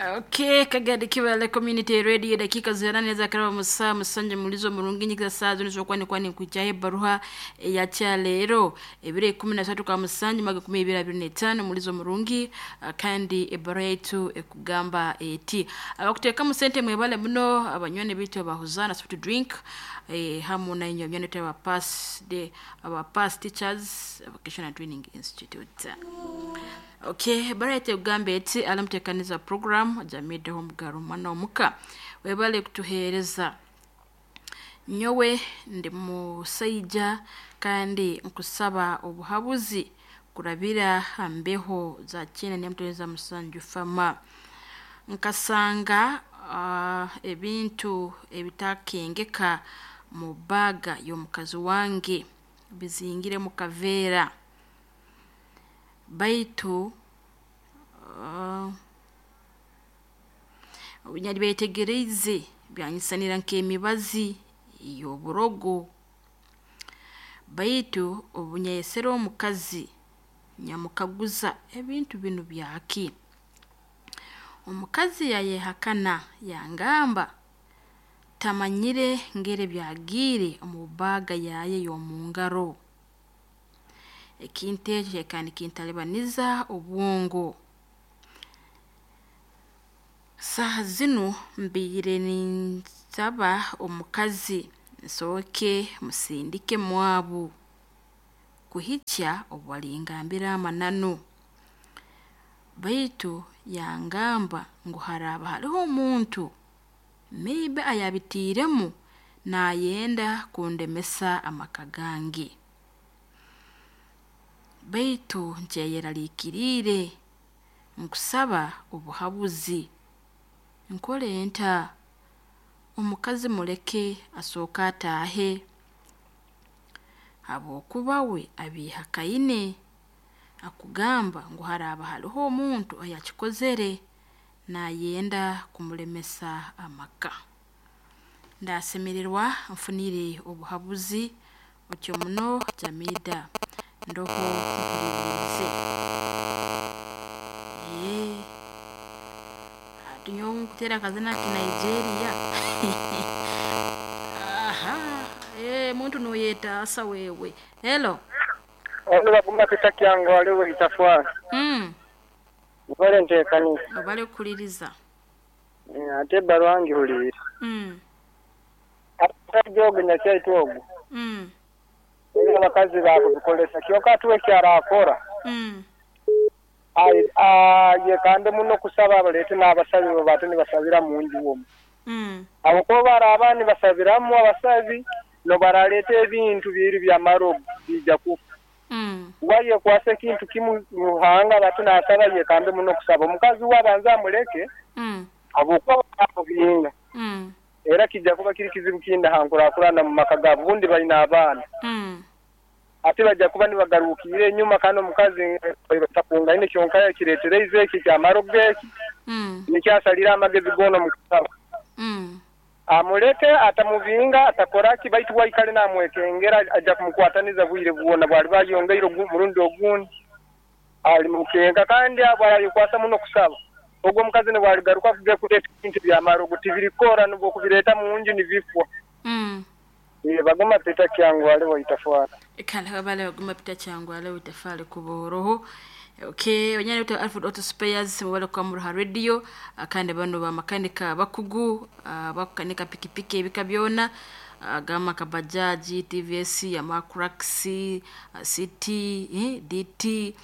Okay, Kagadi Kibale Community Radio, dakika 8 za karaba musaa musanje mulizo murungi nyikiza saa zino zokwani kwani kujaye baruha ya cha lero ebire 13 kwa musanje maga 2025 mulizo murungi. Kandi ebaruha yetu ekugamba eti abakuteeka mu sente mwebale muno abanywani bitu abahuzana soft drink, hamu na inyo banywani aba pass de aba pass teachers vocational training institute. Okay, barete ugambe eti alamutekaniza program jamideho omugaro mwana omuka webale kutuheereza. Nyowe ndi musaija kandi nkusaba obuhabuzi kurabira ha mbeho za kyenda n'emutonyeza musanju fama. Nkasanga ebintu ebitakengeka mu baaga y'omukazi wange bizingire mu kaveera, baitu obunyabyetegereize byanyisanira nk'emibazi y'oburogo, baitu obunyayesere omukazi nyamukaguza ebintu binu byaki, omukazi yayehakana yangamba tamanyire ngeri byagiire omu baaga yaye y'omungaro. Ekintu ekyo kyekaba nikintalibaniza obwongo. Saaha zinu mbaire ninsaba omukazi nsooke musindike mwabu kuhikya obu alingambira amananu, baitu yangamba ngu haraaba hariho omuntu maybe ayabitiiremu naayenda kundemesa amaka gange, baitu nkyeyeraliikiriire. Nkusaba obuhabuzi, nkole nta? Omukazi muleke asooke ataahe habwokuba we abiihakaine akugamba ngu haraaba hariho omuntu ayakikozere naayenda kumulemesa amaka. Ndasemererwa nfunire obuhabuzi otyo muno Jamida ndoho mpuliriize. Hati nyowe nkuteera akazina ki Nigeria. Aha, muntu noyetaasa wewe. Hello. Ono baguma pita kyangu aliwo itafwara. Ubale ntekanisa. Obale kukuliriza. Ate ebbaluwa ngihuliire. Omusajja ogu nyakyaitu ogu. Ebyo abakazi bakubikolesa kyonka ati we ekyarakora. Ayekande muno kusaba baleete n'abasabi babaate nibasabira munju omwo. Habwokuba baraaba nibasabiramu abasabi nobaraleeta ebintu biri byamarogo biija kufa. Wayekwasa ekintu kimu Ruhanga bati nasaba yekambe muno kusaba. Omukazi we abanze amuleke habwokuba bamubinga. Era kijja kuba kiri kizibu kindi ha nkurakurana mu maka gaabo obundi baine abaana. Ate bajja kuba nibagarukiire enyuma kandi omukazi takungaine kyonka yakireetereize eki ekyamarogo eki nikyo asalire amagezi goona omu kusaba. Amuleke atamubinga atakoraki baitu we aikale namwekengera ajja kumukwataniza bwire bwona bwaliba ayongeire murundi ogundi alimukenka kandi abo arayekwasa muno kusaba. Ogwo omukazi nibwaligaruka kuge kuleeta ebintu byamarogo tibirikora nibwokubireeta munju nibifwa. Baguma pita kyangu aliwo itafwara. Kale wabale baguma pita kyangu aliwo itafale kuboroho. Okay, wanyana uta Alfred Auto Spares mubale kwa Muruha Radio, kandi bano ba makanika bakugu, bakukanika pikipiki ebika byona, gama kabajaji, TVS, Yamaha, City, DT,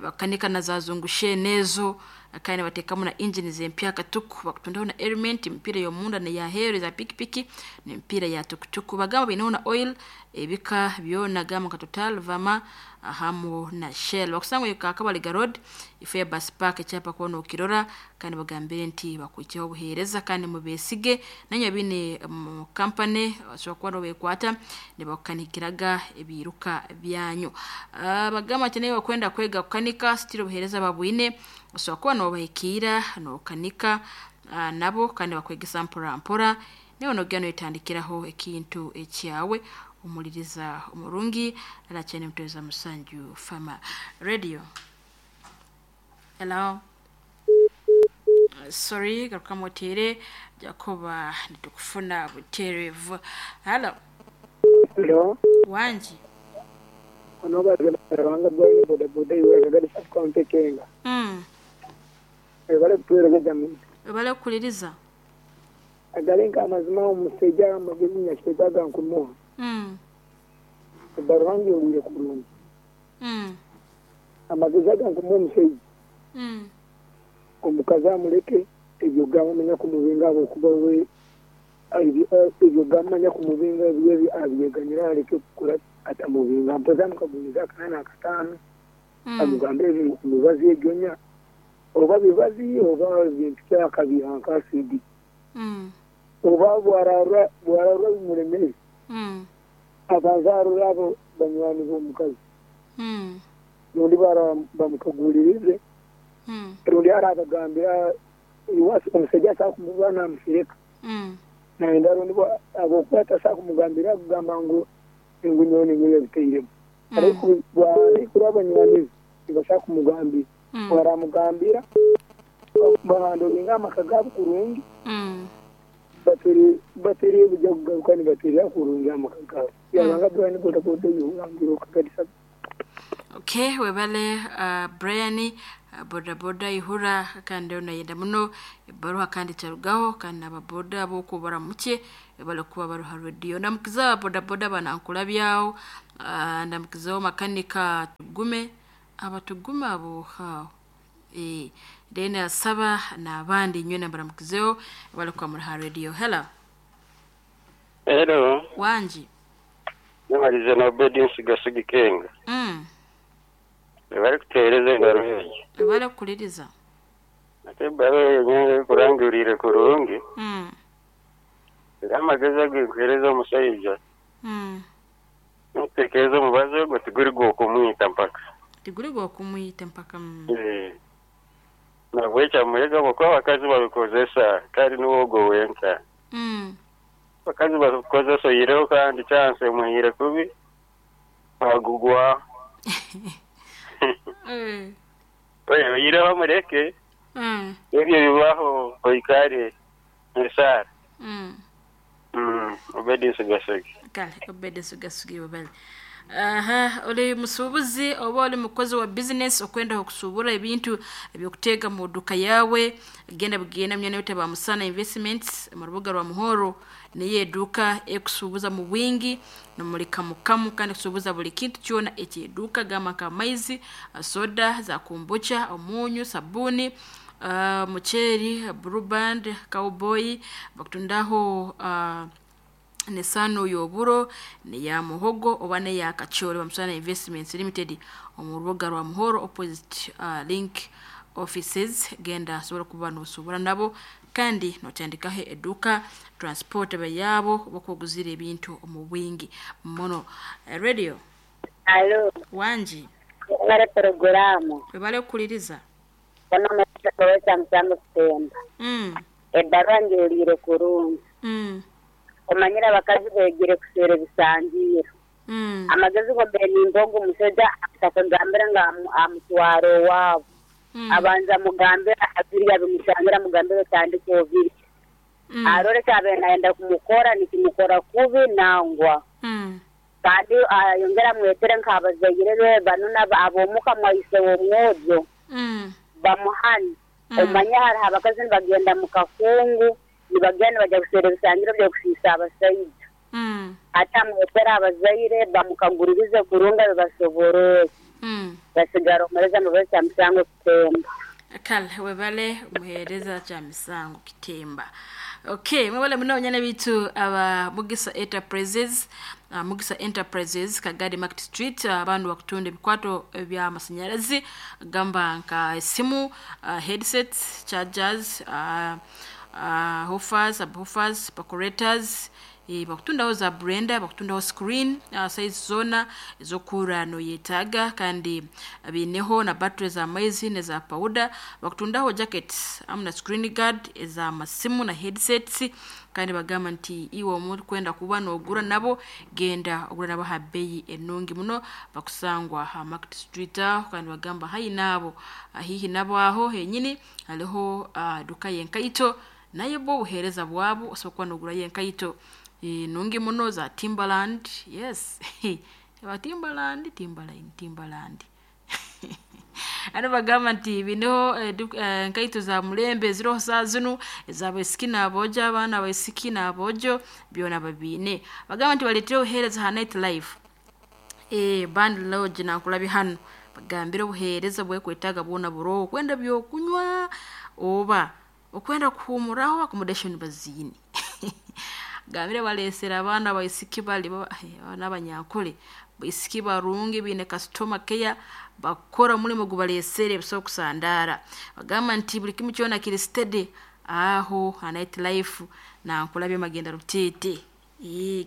bakanika na za zungushe nezo, kandi batekamu na engine zempya katuku, bakutundaho na element, mpira y'omunda na ya heri za pikipiki n'empira ya tukutuku. Bagamba bainaho na oil ebika byona gama ka Total, Vama hamu na Shell. Bakusanga ka Kabaliga Road ifo ya bus park ekyapa kuona okirora, kandi bagambire nti bakuikiho obuheereza kandi mubesige nanye bine mu company bashobora kuba nobekwata nibakukanikiraga ebiruka byanyu. Bagamba nti nawe wakwenda kwega kukanika sitiri obuheereza babwine, osobola kuba nobahikiira nokanika nabo kandi bakwegesa mpora mpora nawe nogenda noyetandikiraho ekintu ekyawe. Omuliriza omurungi arakyene mutweza musanju fama radio. Hello. Sorry, garukamu otere jakuba nitukufuna buterevu. Halo. Hello. Wanji. Ono bazalanga bwani boda boda iwe kagadi county Kenga. Ebale kutuwereza jamii. Ebale kukuliriza. Agalenka amazima omusajja amagezi nyakyegaga nkumuha. Ebaruhangi owire kurungi. Amagezi aga nkumuha omusajja. Omukazi amuleke ebyo gamumanya kumubinga okuba we ebyo gamumanya kumubinga ebyo abyeganyira aleke kukora atamubinga mpoza mukagumiza akana akataano amugambe emibazi egyonya oba bibazi oba bintu kyakabiha nka asidi oba bwararwa bimulemere abanza arora abo banywani b'omukazi rundi bamukagulirize rundi arabagambira iwasi omusajja asobola kumuba namusireka nayenda rundi abokuba atasobola kumugambira akugamba ngu engunyoni ngu yabiteiremu ariko abanywani be tibasobola kumugambira baramugambira bahandoringa amaka gaabo kurungi bateriye bujya kugaruka nibaterera kurungi amaka gaabo yabanga Brian boda boda yurangira okagadisa. Okay, webale Brian boda boda ihura kandi onayenda muno ebaruha kandi charugaho kandi ababoda abokubara muke ebale kuba baruha radio ndamukiza boda boda banankulabyawo ndamukizaho makanika tugume abatugume abo hao then asaba n'abandi nywe nambaramukizeho ebale kuba muruha radio. Hello. Hello. Wanji. Namaliza na obedience gasigi Kenga. Bari kutereza engaro eyo. Bari kukuliriza. Ate bari nyenge kurangurire kurungi. Amagezi agikuhereza omushaija. Ntekereza omubazi ogwo tiguri gwokumwita mpaka. Tiguri gwokumwita mpaka. Nabwekya muyega kuba abakazi babikozesa kandi niwe ogwo wenka. Abakazi babikozesa oyireho kandi chance muhire kubi bagugwa. Oyireho amureke. Ebyo bibaho oikare nesara. Obedience gasigi. Kale obedience gasigi wabale. Aha, oli musuubuzi oba oli mukozi wa business okwenda okusubura ebintu ebyokutega mu duka yawe genda bugenda myana yote ba Musana Investments mu rubuga rwa Muhoro niye eduka ekusubuza mu wingi no muri kamukamu kandi kusubuza buli kintu kyona ekyeduka gama nka maizi, soda za kombucha, omunyu, sabuni, mucheri, Blue Band, Cowboy bakutundaho nesano yoburo ne ya muhogo oba ne ya kachori ba Musana Investments Limited omu rubuga rwa Muhoro opposite link offices. Genda sobola kuba nosobora nabo kandi notandikaho eduka transport bayabo bakuguzira ebintu omu bwingi muno. Radio. Alo. Wanji. Bare programu. Bale kuliriza. Bana mutaweza msango kutemba. Ebarwa njulire kurungi. Omanyira abakazi begire kusera ebisangiro. Amagezi go benimbogo omusajja atakagambira nga amutwaro waabo. Abanza mugambira abiri abimusangira mugambira tandika obiri. Arore kabe naenda kumukora nikimukora kubi nangwa. Kandi ayongera mwetere nk'abazaire be banuna abomuka mwaise w'omwojo. Bamuhani. Omanya hariho abakazi nibagenda mu kakungu nibagenda bajya kusera ebisangiro by'okusiisa abasaija. Ate amwetera abazaire bamukaguririze kurunga bibasoborere. Basigara omuhereza mubazi musango kitemba. Kale webale muhereza cha misango kitemba. Okay, mwebale muno bitu aba Mugisa Enterprises, Mugisa Enterprises Kagadi Market Street, abantu bakutunda ebikwato bya masanyalazi gamba nka esimu, headsets, chargers, woofers, subwoofers, percolators, Bakutundaho za blender, bakutundaho screen size zona ezokura noyetaga, kandi bineho na battery za maizi neza powder, bakutundaho jackets amu na screen guard eza masimu na headsets. Kandi bagamba nti iwe omuntu kwenda kuba nogura nabo, genda ogura nabo ha bei enungi muno, bakusangwa ha Market Street aho. Kandi bagamba hayi nabo hihi nabo aho henyini hariho duka yenkaito, naye bo obuheereza bwabo osobola kuba nogura yenkaito nungi muno za Timberland. Yes, ba Timberland, Timberline, Timberland. Ano bagamba nti bineho nkaito za mulembe ziroho saa zinu ez'abaisiki n'aboojo, abaana abaisiki n'aboojo byona babiine. Bagamba nti baleetire obuheereza ha night life, band lodge nankulabye hanu, bagambire obuheereza bwekwetaaga bwona buroho, okwenda byokunywa oba okwenda kuhumuraho, accommodation baziine. Gambire baleesere abaana abaisiki bali n'abanyankole, baisiki barungi biine customer care, bakora omulimo gubaleesere busaho kusandaara. Bagamba nti buli kimu kyona kiri steady aho ha night life nankulabye Magenda Ruteete.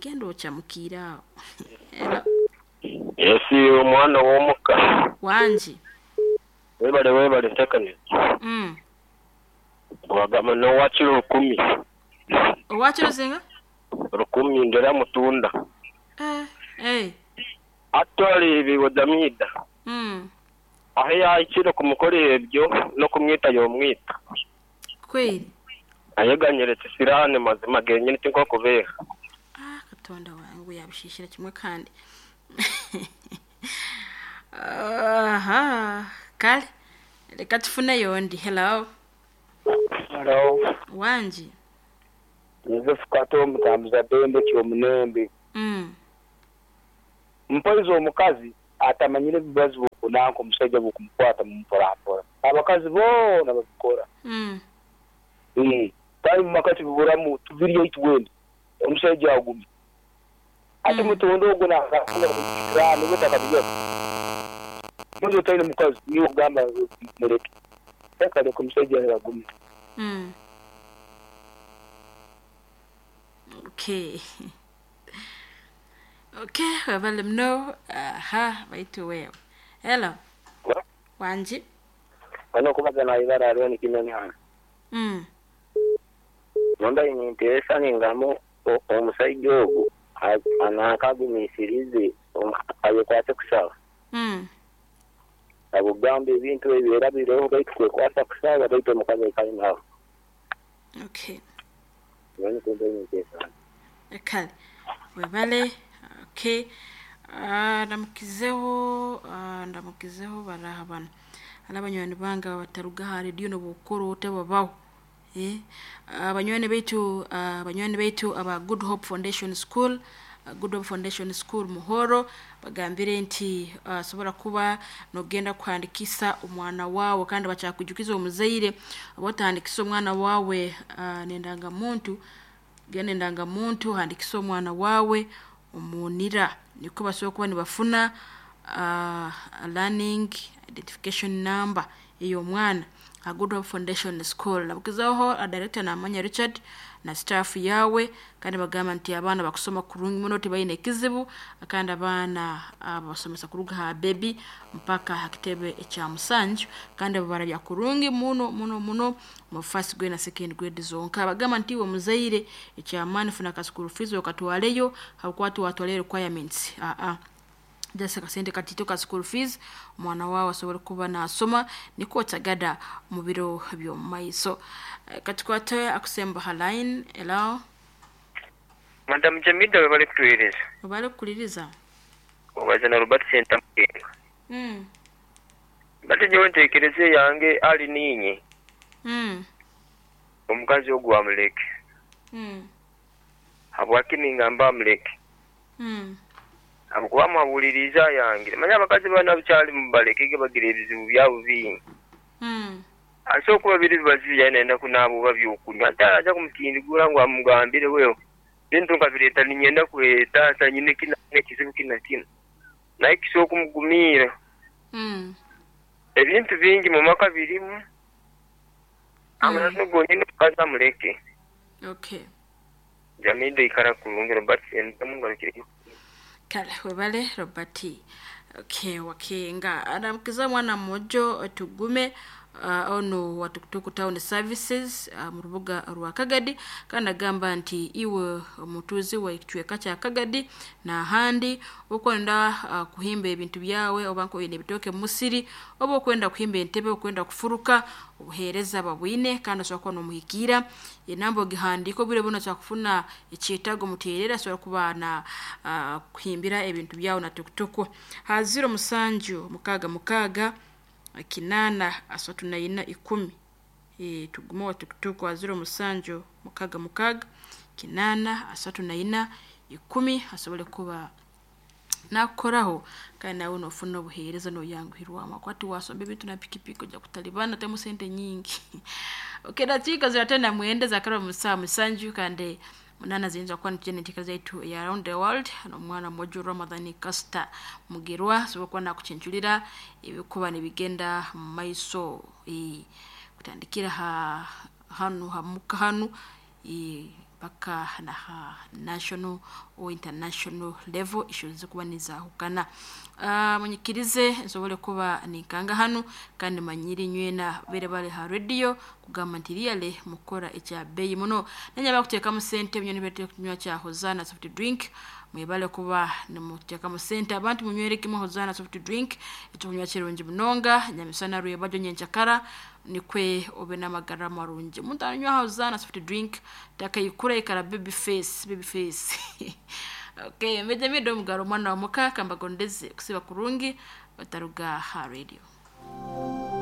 Genda ochamukire aho. Hello. Esi omwana w'omuka. Wangi. Webale webale ntekaniza. Wagamba nowakiro 1000. Owakiro zinga? 1000 ndera mutunda. Atwali bigodamida. Aho yahikire kumukora ebyo no kumwita yomwita. Kweli. Ayeganyeretse sirane mazima genyine tinko kubera. Katonda wangu yabishishira kimwe kandi. Aha, kale reka tufune yondi. Hello. Hello. Wangi. Joseph Kato mutambuza bembe kyomunembe. Mpoizo omukazi atamanyire bibazo kunanko omusajja bukumukwata mumporampora. Abakazi bona babikora. Kandi mu makati biburamu tubiriyo itwende. Omusajja agumye. Ate mutondo ogwo nakakunda kukikrano butakabiyo. Muzo tayine mukazi niyo gamba mureke. Kale kumusajja agumye. Okay. Okay, wabale mno. Aha, baitu wewe. Hello. Wanji. Bano kubaza na ibara ariyo ni kinyoni hano. Nonda ininteresa ningamo omusajja ogwo anakagumisirize ayekwate kusaba. Abugamba ebintu ebyo biroho baitu kwekwasa kusaba baitu omukazi aikale nawe. Okay. Noni kumbe ininteresa. Kale. Webale. Okay. Ndamukizeho baraha bano. Abanywani bange bataruga ha radio nobukoro otebabaho. Abanywani baitu aba Good Hope Foundation School, Good Hope Foundation School Muhoro, bagambire nti sobola kuba nogenda kuhandikisa omwana wawe, kandi bachakujukiza omuzaire obotandikisa omwana wawe nendanga muntu, genda endanga muntu handikisa omwana wawe omunira, niko basobola kuba nibafuna learning identification number ey'omwana. Good Hope Foundation School. Nabukizaho director Namanya Richard na staff yawe, kandi bagamba nti abaana bakusoma kurungi muno tibayine ekizibu, kandi abaana basomesa kuruga ha baby mpaka ha kitebe ekya musanju, kandi babarabya kurungi muno muno muno mu first grade na second grade zonka. Bagamba nti we muzaire ekyamaani funa ka school fees okatwaleyo hakwatu watwale requirements. Jasa kasente katito ka school fees omwana wawe asobole kuba nasoma niko tagada mu biro by'omumaiso. Katukwate akusemba ha line. Hello. Madam Jamida webale kutuhereza. Webale kukuliriza. Obaza na Robert Center Mukenga. Bate nyowe ntekereze yange ali ninye. Omukazi ogwo amuleke. Habwaki ningamba amuleke? Abukuba mwabuliriza yange. Manya abakazi bana bukyali mubalekege bagira ebizibu byabo bingi. Asobola kuba biri bibazibu yayenda kunaaba oba byokunywa. Ate aja kumutindigura ngu amugambire wewe bintu nkabireeta ninyenda kureeta nyine kina ekizibu kina kina. Naye kisobola kumugumira. Ebintu bingi mu maka birimu. Amazima gonyine omukazi amuleke. Okay. Jamii ikara kurungi Robert Sentamu ngarukire. Kale webale Robert. Okay, wakenga anamukiza mwana mmojo tugume ono wa Tukutuku Town Services mu rubuga rwa Kagadi, kandi agamba nti iwe omutuzi wa ekicweka kya Kagadi n'ahandi okwenda kuhimba ebintu byawe oba nkoine ebitooke mu musiri oba okwenda kuhimba entebe, okwenda kufuruka, obuheereza babwine kandi osobola kuba n'omuhikiira enamba ogihandiika obwire buno osobola kufuna ekyetaago muteerera asobola kuba na kuhimbira ebintu byawe na tukutuku ha 07 66 8 34 10. Tugume wa tukutuku ha 07 66 8 34 10 asobole kuba nakukoraho kandi nawe nofuna obuheereza noyanguhirwamu akwati wasomba ebintu na pikipiki ojja kutalibana temu sente nyingi. Okay, dakika ziratenda mwenda zakaraba mu saa 7 kandi 8 ziyinza kuba nitugenda enteekera zaitu eya Around the World n'omwana mwojo Ramadhani Kasita Mugerwa asobola kuba nakukinculira ebikuba nibigenda mu maiso, kutandikira ha hanu hamuka hanu mpaka na ha national or international level issues zikuba nizahukana. Munyikirize nsobole kuba ninkanga hanu kandi manyiri nywena bere bale ha radio kugamba nti really mukora ekya beyi muno nanyaba kuteekamu sente binyoni bete kunywa kya Hozana soft drink, mwebale kuba nimuteekamu sente abantu munywere kimwe Hozana soft drink ekyokunywa kirungi munonga nyamisana rwebajo nyenchakara nikwe obe n'amagara marungi. Omuntu anywa Hozana soft drink takayikura ikara baby face, baby face. Okay, meje omugaro omwana wa muka kambagondeze kusiba kurungi bataruga ha radio.